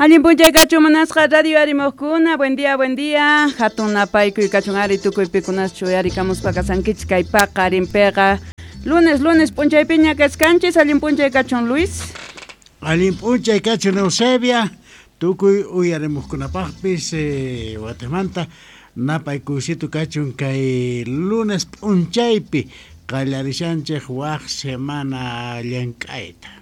Allin p'unchay kachun munasqa radio arimuqkuna, buen día, buen día. Hatun napaykuy kachun ari tukuy pikunaschu uyarikamuspa kasankichis kay paqarinpiqa. Lunes, lunes p'unchaypiña kachkanchis, allin p'unchay kachun Luis. Allin p'unchay kachun Eusebia, tukuy uyarimuqkunapaqpis watimanta napaykuysito kachun kay lunes p'unchaypi qallarishanchik waq semana llank'ayta.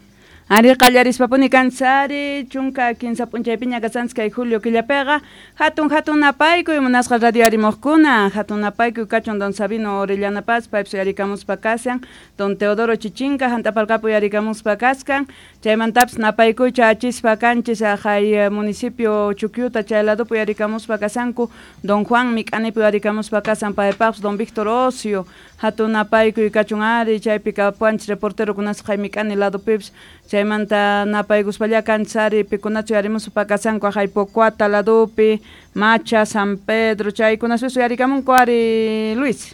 Ari qallarispapuni kanchis 13 p'unchaypiña kasanchis kay julio killapiqa hatun hatun napaykuy munasqa radio arimuqkuna hatun napaykuy kachun don Sabino Orellana Paz paypis uyarikamuspa kashan don Teodoro Chichinca hant'apalqapi uyarikamuspa kaskan chaymantapis napaykuycha achispa kanchis haqay municipio Chukyuta chay ladopi uyarikamuspa kasanku don Juan Mik'anipi uyarikamuspa kasan paypaqpis don Víctor Ocio hatun napaykuy kachun ari chaypi kapuanchis reporterokunas qay Mik'ani ladopipis chaymanta napaykuspalla kanchis ari pikunachu uyarimuspa kasanku haqay Pocuata ladopi Macha, San Pedro chaykunaspis uyarikamunku ari Luis.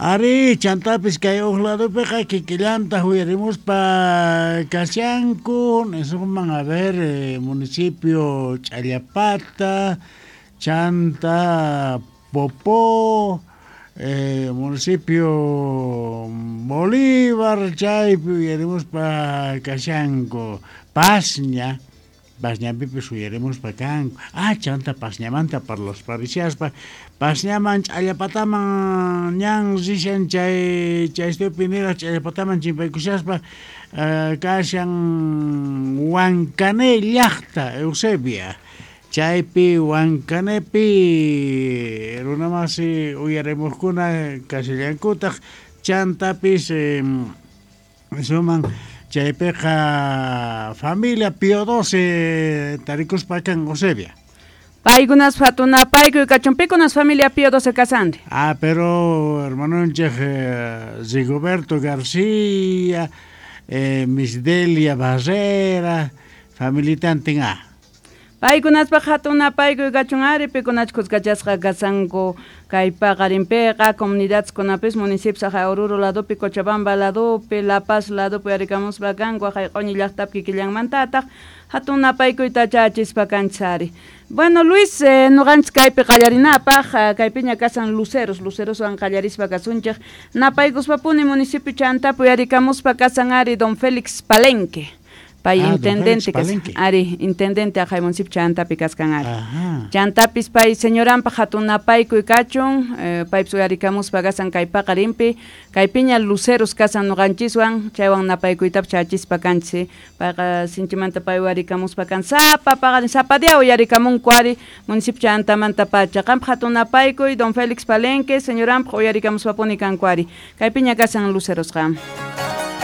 Ari chantapis kay huk ladopiqa kikillanta uyarimuspa kashanku nisunman a ver municipio Ch'allapata, chanta Popó, municipio Bolívar chaypi uyarimuspa kashanku Pasña, Pasñapipis uyarimuspa kanku. Ah, chanta Pasñamanta parlasparishaspa Pasñaman Ch'allapataman ñan rishan chay chaystupi niraq Ch'allapataman chimpaykushaspa kashan Huancané llaqta Eusebia. Chaypi Huancanépi runamasi uyarimuqkuna kashallankutaq chantapis suman chaypiqa familia Pío XII tarikuspa kan Eusebia. Paykunas hatun napaykuy kachun pikunas familia Pío XII kasanri. Ah, pero hermanonchik Rigoberto García, Miss Delia Barrera, familitantin ah. Paykunaspaq hatun napaykuy kachun ari pikunach kuskachasqa kasanku kay paqarinpiqa comunidadkunapis municipios haqay Oruro ladopi, Cochabamba ladopi, La Paz ladopi uyarikamuspa kanku haqay q'uñi llaqtapi kikillanmantataq hatun napaykuyta chachispa kanchis ari. Bueno, Luis, nuqanchis kaypi qallarinapaq kaypiña kasan luceros, luceroswan qallarispa kasunchik napaykuspapuni municipio chantapi uyarikamuspa kasan ari don Félix Palenque. Pay intendente ari intendente haqay municipio chantapi kaskan ari. Chantapis pay señoranpaq hatun napaykuy kachun paypis uyarikamuspa kasan kay paqarinpi kaypiña luceros kasan nuqanchiswan chaywan napaykuytapas chachispa kanchis payqa sinchimanta pay uyarikamuspa kan sapa paqarin sapa día uyarikamunku ari municipio chantamanta pacha qampaq hatun napaykuy don Félix Palenque señoranpaq uyarikamuspapuni kanku ari kaypiña kasan lucerosqa.